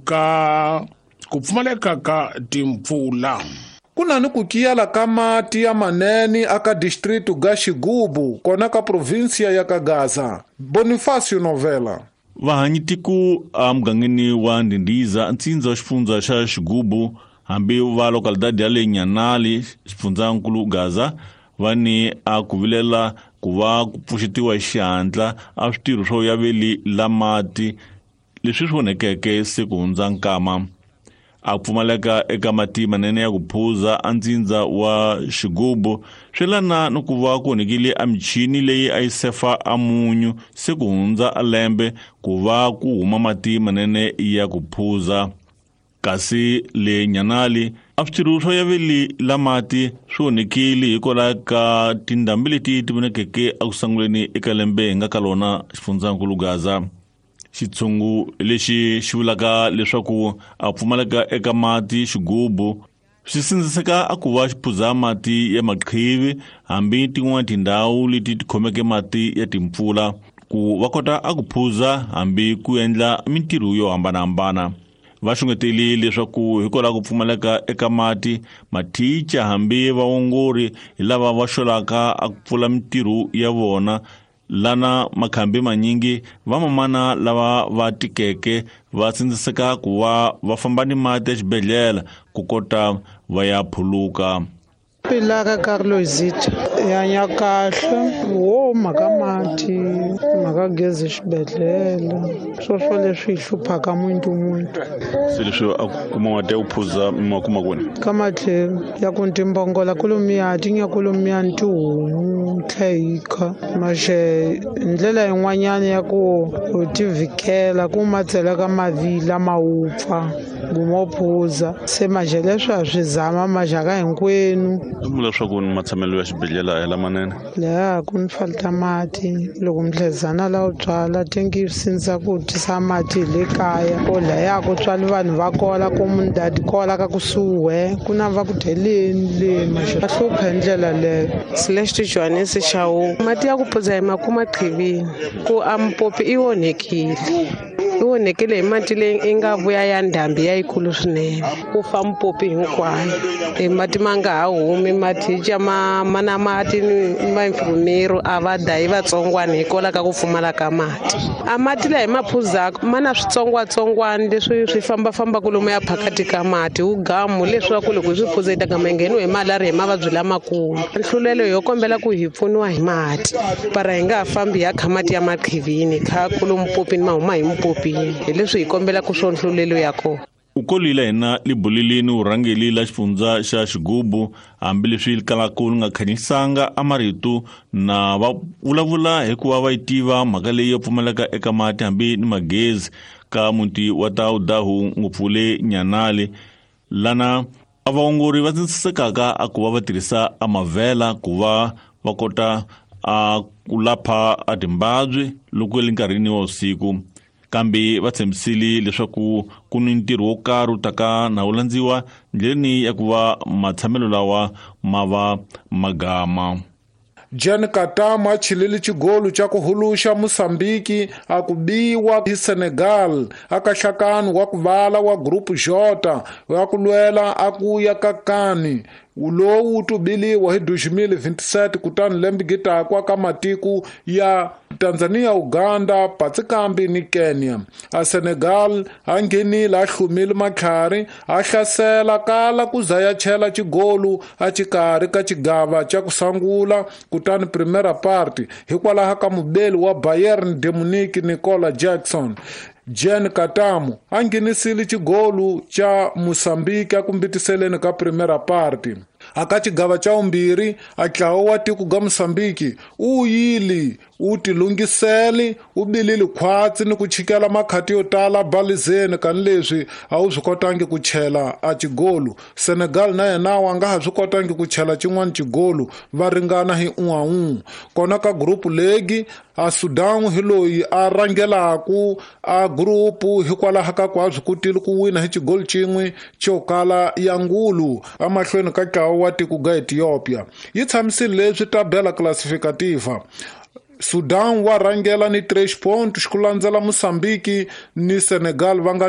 Ka ku pfumaleka ka timpfula. Ku na ni ku kiyala ka mati ya manene aka distrito ga Xigubu kona ka provinsia ya Kagaza. Bonifacio Novela. Vahanyitiko emugangeni wa Ndindiza, ntsindza wa xifundza xa Xigubu, hambi va localidade ya le Nyanali, xifundzankulu Gaza, va ni a ku vilela ku va ku pfuxetiwa hi xihatla a switirho swo yaveli la mati leswi swi onhekeke se ku hundza nkama. A pfumaleka eka mati manene ya ku phuza a ntsindza wa Xigubu swi lana ni ku va ku onhekile a michini leyi a yi sefa a munyu se ku hundza a lembe ku va ku huma mati manene ya ku phuza. Kasi le Nyanali a switirho swo yaveli la mati swi onhekile hikwalaho ka tindhambi leti ti vonekeke eku sunguleni eka lembe hi nga ka lona xifundzankulu Gaza. Xitshungu lexi xi vulaka leswaku a pfumaleka eka mati Xigubu swi sindziseka a ku va xi phuza mati ya maqhivi hambi tin'wana tindhawu leti ti khomeke mati ya timpfula ku va kota a ku phuza hambi ku endla mintirho yo hambanahambana. Va xungeteli leswaku hikwalaho ku pfumaleka eka mati, mathicha hambi vaongori hi lava va xolaka a ku pfula mintirho ya vona lana makhambi manyingi vamamana lava va tikeke va sindziseka ku va va famba ni mati exibedhlele ku kota va ya phuluka. Pilaka Carlosita ya kahle wo mhaka mati mhaka gezi xibedhlele swoswo leswi hi hluphaka muntu muntu. Se leswi a kuma mati ya ku phuza ma kuma kwini? Ka matlhelo ya ku timbongola kolomiya ti nya kolomiya ni tihomu tlhayika maxe ndlela yin'wanyana ya ku u tivhikela ku ma tsela ka mavila ma wupfa gumo phuza se maxe leswi a swi zama maxaka hinkwenu. Swi vula leswaku ni matshamelo ya xibedhlele a hi lamanene? Laha ku ni falta mati loko mdlezana la u tswala tengi sindza ku tisa mati hi le kaya ko laya ku tswali vanhu va kola ku mundadi kola ka kusuhi ku na va ku dyeleni le maxe va hlupha hi ndlela leyo. Celeste Johannes Chau mati ya ku phuza hi makuma qhivini ku a mpopi i onhekile. I onhekile hi mati leyi i nga vuya ya ndhambi ya yikulu swinene ku fa mpopi hinkwayo e mati ma nga ha humi mathicha ma mana mati ni vainfirmero a va dayi vatsongwana hikwalaho ka ku pfumala ka mati. A mati laha hi ma phuzaka ma na switsongwatsongwana leswi swi fambafambaka lomu ya phakati ka mati wu gamu leswaku loko hi swi phuza hi ta gama hi ngheniwe hi malaria hi mavabyi lamakulu. Nhlulelo yo kombela ku hi pfuniwa hi mati para hi nga ha fambi hi ya kha mati ya maqhivini kha kulo mpopini ma huma hi mpopini hi leswi hi kombelaka swo nhlulelo ya kona. U kolile hina libuleleni vurhangeri la xifundza xa Xigubu hambileswi kalaka li nga khanyisanga a marito na va vulavula hikuva va yi tiva mhaka leyi yo pfumaleka eka mati hambi ni magezi ka muti wa Taudahu ngopfu le Nyanali lana a vaongori va tsindzisekaka a ku va va tirhisa a mavhela ku va va kota a ku lapha a timbabyi loko le nkarhini wa vusiku. Kambe va tshembisile leswaku ku ni ntirho wo karhi wu taka na wu landziwa ndleleni ya ku va matshamelo lawa ma va magama. Jan Katama a chilile xigolo xa ku huluxa Mozambique a ku biwa hi Senegal aka nhlakano wa ku vala wa Group J wa ku lwela a ku ya ka kani lowu wu tubiliwa hi 2027 kutani lembe gitaku aka matiko ya Tanzania, Uganda, Patsikambi ni Kenya. A Senegal a nghenile a hlumile matlhari a hlasela kala ku za ya chela xigolu a xikarhi ka xigava xa ku sungula kutani primera parte hikwalaho ka mubeli wa Bayern de Munich Nicola Jackson. Jan Katamo a nghenisile xigolu xa Mozambique a kumbitiseleni ka primera parte. Aka xigava xa vumbirhi a ntlawa wa tiko ga Mozambique u yili u tilunghisele u bilile khwatsi ni ku chikela makhati yo tala balizeni kanileswi a wu swi kotangi ku chela a xigolu. Senegal na yena wa nga ha swi kotangi ku chela xin'wana xigolu va ringana hi 1-1. Kona ka group league a Sudan hi loyi a rhangelaku a group hikwalaho ka ku a swi kotile ku wina hi xigolu xin'we xo kala ya ngulu emahlweni ka ntlawa wa tiko ga Ethiopia. Yi tshamisile leswi tabela classificativa. Sudan wa rhangela ni 3 pontos ku landzela Mozambique ni Senegal va nga